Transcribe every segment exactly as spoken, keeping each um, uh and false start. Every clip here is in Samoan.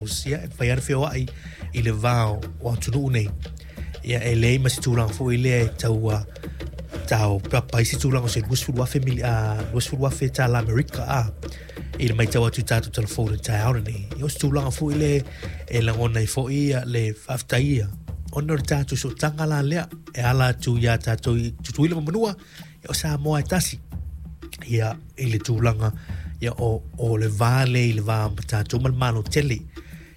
Ia, e mafai lava ona feoai i le va o atunuu nei. Ia, e leai ma se tulaga foi lea e tau taopapa ai se tulaga o se luasefulu afe mili, luasefulu afe tala Amerika a i le matau atu i tatou telefoni i le taeao lenei. Ia, o se tulaga foi lea e lagona ai foi le faafetaia ona o le tatou sootaga la lea e ala atu iā tatou i Tutuila ma Manua, ia o Samoa e tasi. Ia, i le tulaga ia o, o le va lea i le va ma tatou ma le Malo tele.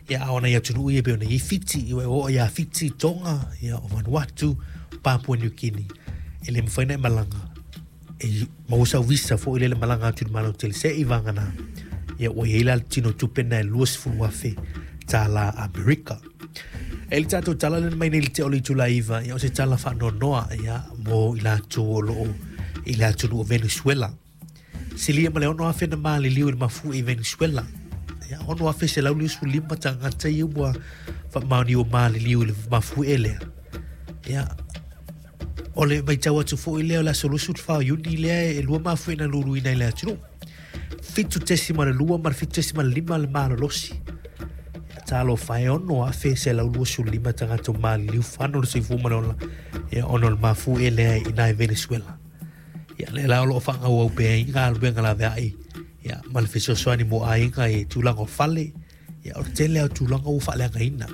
Ia, a o nai atunuu ia pei ona i ai Fiti, ia e oo ia Fiti, Tonga, ia o Vanuatu, Papua New Guinea, e le mafai ona e malaga e maua sau visa foi lele malaga atu i le Malo tele se i vagana ia ua i ai la le tino tupe na e luasefulu afe tala Amerika. E le tatou tala lena mai nei le tea o le itula iva, ia o se tala faanoanoa ia mo i latou o loo i le atunuu o Venezuela. Silia ma le ono afe na maliliu i le mafuie i Venezuela. Ia, ono afe selau limasefulu lima tagata ia ua faamaonia ua maliliu i le mafuie lea. Ia, o le matau atu foi lea o le aso luasefulu fa o Iuni lea e lua mafuie na luluina i le atunuu. Fitu tesima le lua ma le fitu tesima le lima le malolosi. Ia, talofa e ono afe selau luasefulu lima tagata ua maliliu fano le soifua ma le ola ia ona o le mafuie lea i ina i Venezuela. Ia, lea la o loo faagauau pea ai galuega laveai ia ma le fesoasoani mo aiga i tulaga o fale. Ia, o le tele lava o tulaga ua faaleagaina.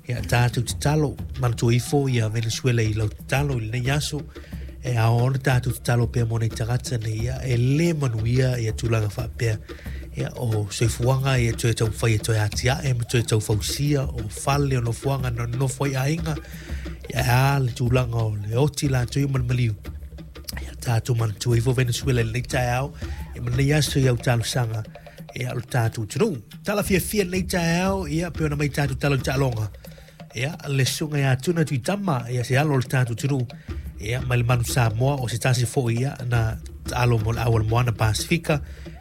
Ia, tatou tatalo, manatua ifo ia Venezuela i lau tatalo i lenei aso. E ao ona tatou tatalo pea mo nei tagata nei, ia e lē manuia ia tulaga faapea. Ia, o soifuaga ia toe taumafai e toe atiae ma toe taufausia o fale o nofoaga na nonofo ai aiga. Ia, e a le tulaga o le oti latou ia ma le maliu. Ia, tatou manatua ifo Venezuela i lenei taeao ia ma lenei aso i au talosaga ia o le tatou atunuu. Tala fiafia lenei taeao ia pei ona mai tatou tala i taaloga. Ia, le susuga ia Tuna Tuitama, ia se alo o le tatou atunuu ia mai le Manu Samoa, o se tasi foi ia na taalo mo le au o le Moana Pasifika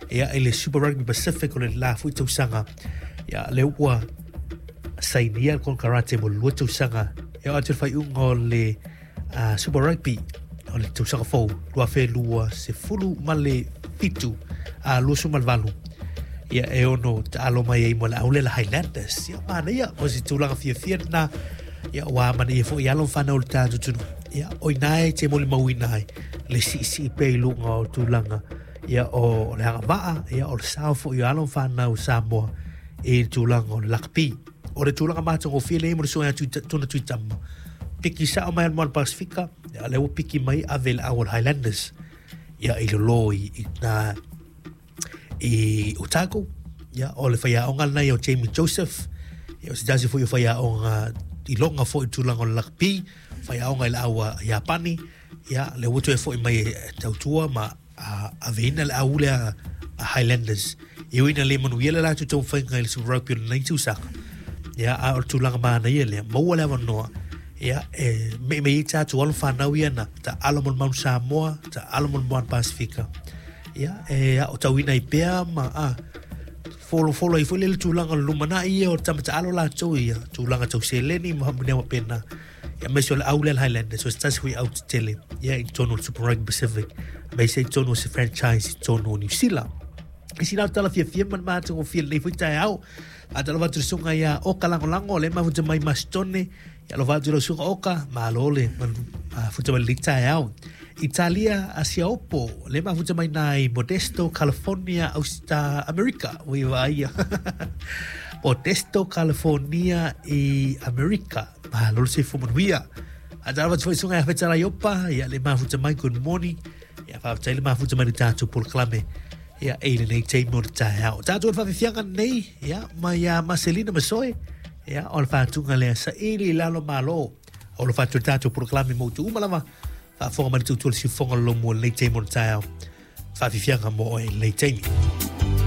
ia i le Super Rugby Pacific o le la foi tausaga. Ia, lea ua sainia le konekarate mo le lua tausaga e oo atu i le faaiuga o le uh, Super Rugby o le tausaga fou lua afe lua sefulu ma le fitu a luasefulu ma le valu. Ia, e ono taalo mai ai mo le au lea le Highlanders. Ia, manaia o se tulaga fiafia lena. Ia, ua manaia foi alo ma fanau o le tatou atunuu. Ia, o ina e te molimauina ai le siisii pea i luga o tulaga ia o le agavaa, ia o le sao foi o alo ma fanau o Samoa i le tulaga o le lakapi. O le tulaga matagofie lea mo le susuga ia Tuna Tuitama. Piki sao mai le Moana Pasifika, ia lea ua piki mai ave i le au o le Highlanders. Ia, i lolo i, i na i Otago. Ia, o le faiaoga lena ia o Jamie Joseph. Ia, o se tasi foi o faiaoga i loga foi i tulaga o le lakapi, faiaoga i le au a Iapani. Ia, lea ua toe foi mai e tautua ma aveina le au lea a Highlanders. E ui ina le manuia le latou taumafaiga i le Super Rugby o lenei tausaga. Ia, a o le tulaga manaia lea, maua le avanoa ia e meimei ai tatou alo fanau ia na taalo mo le Manu Samoa, taalo mo le Moana Pasifika. Ia, e aotauina ai pea ma a folofolo ai foi le tulaga o le lumanai ia o le tama taalo latou ia tulaga tau seleni ma mea faapena. Ia, aemaise o le au lea le Highlanders, o se tasi foi au tetele ia i totonu o le Super Rugby Pacific, aemaise i totonu o se franchise i totonu o Niu Sila. I sina tala fiafia ma le matagofie lenei foi taeao. Faatalofa atu i le susuga ia Oka Lagolago, lea e mafuta mai Masitone. Ia alofa atu i lau susuga Oka, malo le mafuta mai lenei taeao. Italia Asiaopo, lea e mafuta mai na i Modesto, California, Austa, Amerika. Ui vaaia. Modesto, California i Amerika. Malo le soifua manuia. Faatalofa atu foi i susuga ia Fetalai Opa, ia le mafuta mai, good morning. Ia faafetai le mafuta mai le tatou polokalame ia i lenei taimi o le taeao. Tatou le faafiafiaga nei ia mai ia Marcelina Masoe, ia o le faatuga lea saili i lalo malo. O le faatu le tatou polokalame mo outou uma lava faafofoga mai le tautua le siufofoga o le lomu o lenei taimi o le taeao. Faafiafiaga mo oe i lenei taimi.